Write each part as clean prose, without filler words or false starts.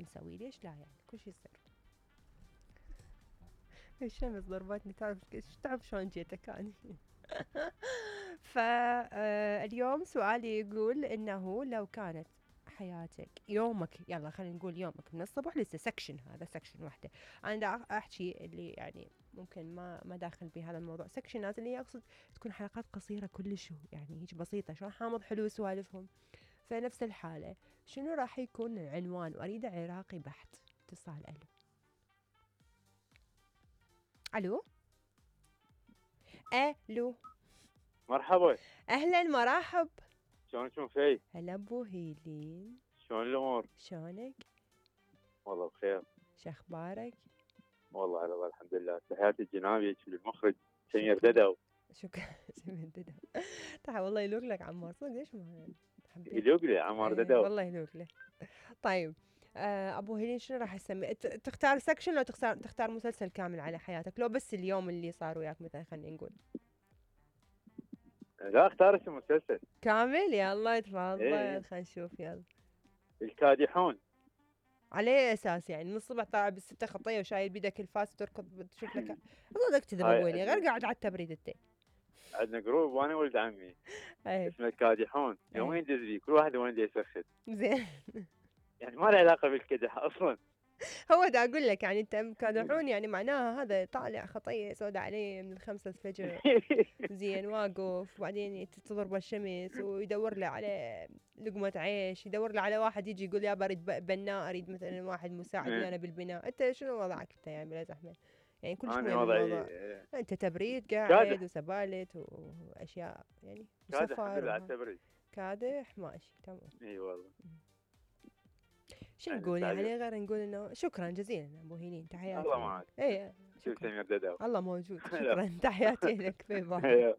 نسوي؟ ليش لا يعني كل شيء يصير. الشمس ضربتني، تعرف شلون جيتك اني. فاليوم سؤالي يقول انه لو كانت حياتك يومك، يلا خلينا نقول يومك من الصبح لسه سكشن، هذا سكشن واحدة. انا دا احكي اللي يعني ممكن ما داخل بهذا الموضوع. سكشنات اللي اقصد تكون حلقات قصيرة كلش، يعني هيك بسيطة، شلون حامض حلو سوالفهم. فنفس الحالة شنو راح يكون العنوان؟ واريد عراقي بحت. اتصال. الو. الو. مرحبا. اهلا مرحب. شلونكم في؟ هلا ابو هيلين. شلون الامور؟ شلونك؟ والله بخير. شخبارك؟ والله على الله الحمد لله. تحياتي الجنابي للمخرج سمير ددو. شكرا. سمير ددو. تعال والله يلوق لك عمار، صدق ليش ما حبيت؟ يلوق لي عمار ددو. والله يلوق له. طيب ابو هيلين شنو راح تسمي؟ تختار سكشن لو تختار مسلسل كامل على حياتك؟ لو بس اليوم اللي صار وياك مثلا خلينا نقول. لا اختار اسم مسلسل كامل. يا الله تفضل. إيه. خلينا نشوف. يلا. الكادحون. على اساس يعني من الصبح طالع بالستة خطيه وشايل بيدك الفاس وتركض تشوف لك. صدق تكذب ابو هيلين، غير قاعد على التبريد انت. عندنا جروب وانا ولد عمي ايه. اسمه الكادحون. يومين دز بيه كل واحد وين يسخن. زين. يعني ما له علاقه بالكدح اصلا. هو دا اقول لك يعني انت كادحون يعني معناها هذا طالع خطيه سوداء عليه من 5 الفجر. زين واقف وبعدين تضرب الشمس ويدور له على لقمه عيش، يدور له على واحد يجي يقول يا اريد بناء، اريد مثلا واحد مساعد ويانا بالبناء. انت شنو وضعك انت يعني بلا زحمه؟ يعني كلش مهم الموضوع. انت تبريد قاعد وسبالت واشياء يعني كادح الحمد لله على التبريد. كادح ماشي تمام. اي والله. شو نقول يعني غير نقول انه شكرا جزيلا ابو هيلين. تحياتي. الله معك. ايه شوف سمير ددو. الله موجود. شكرا. تحياتي لك. في باي.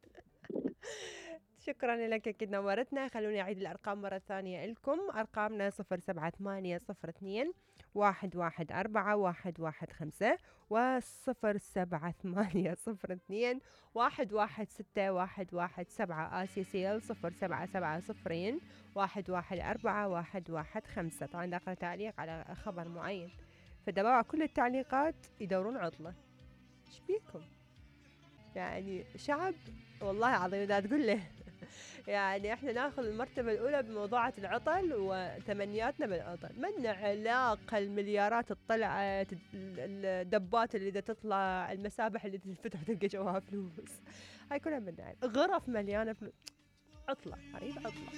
شكرا لك اكيد نورتنا. خلوني اعيد الارقام مرة ثانية لكم. ارقامنا 07802 114 115 و07802 116 117 ACCL 0770 114 115. طبعا داخل تعليق على خبر معين، فدبوا كل التعليقات يدورون عطلة. ايش بيكم يعني شعب؟ والله العظيم دا تقول له يعني احنا ناخذ المرتبة الأولى بموضوعة العطل وتمنياتنا بالعطل. من علاقة المليارات الطلعت، الدبات اللي دا تطلع، المسابح اللي تنفتح تلقى جواها فلوس، هاي كلها من غرف مليانة فلوس. عطلة. أريد عطلة.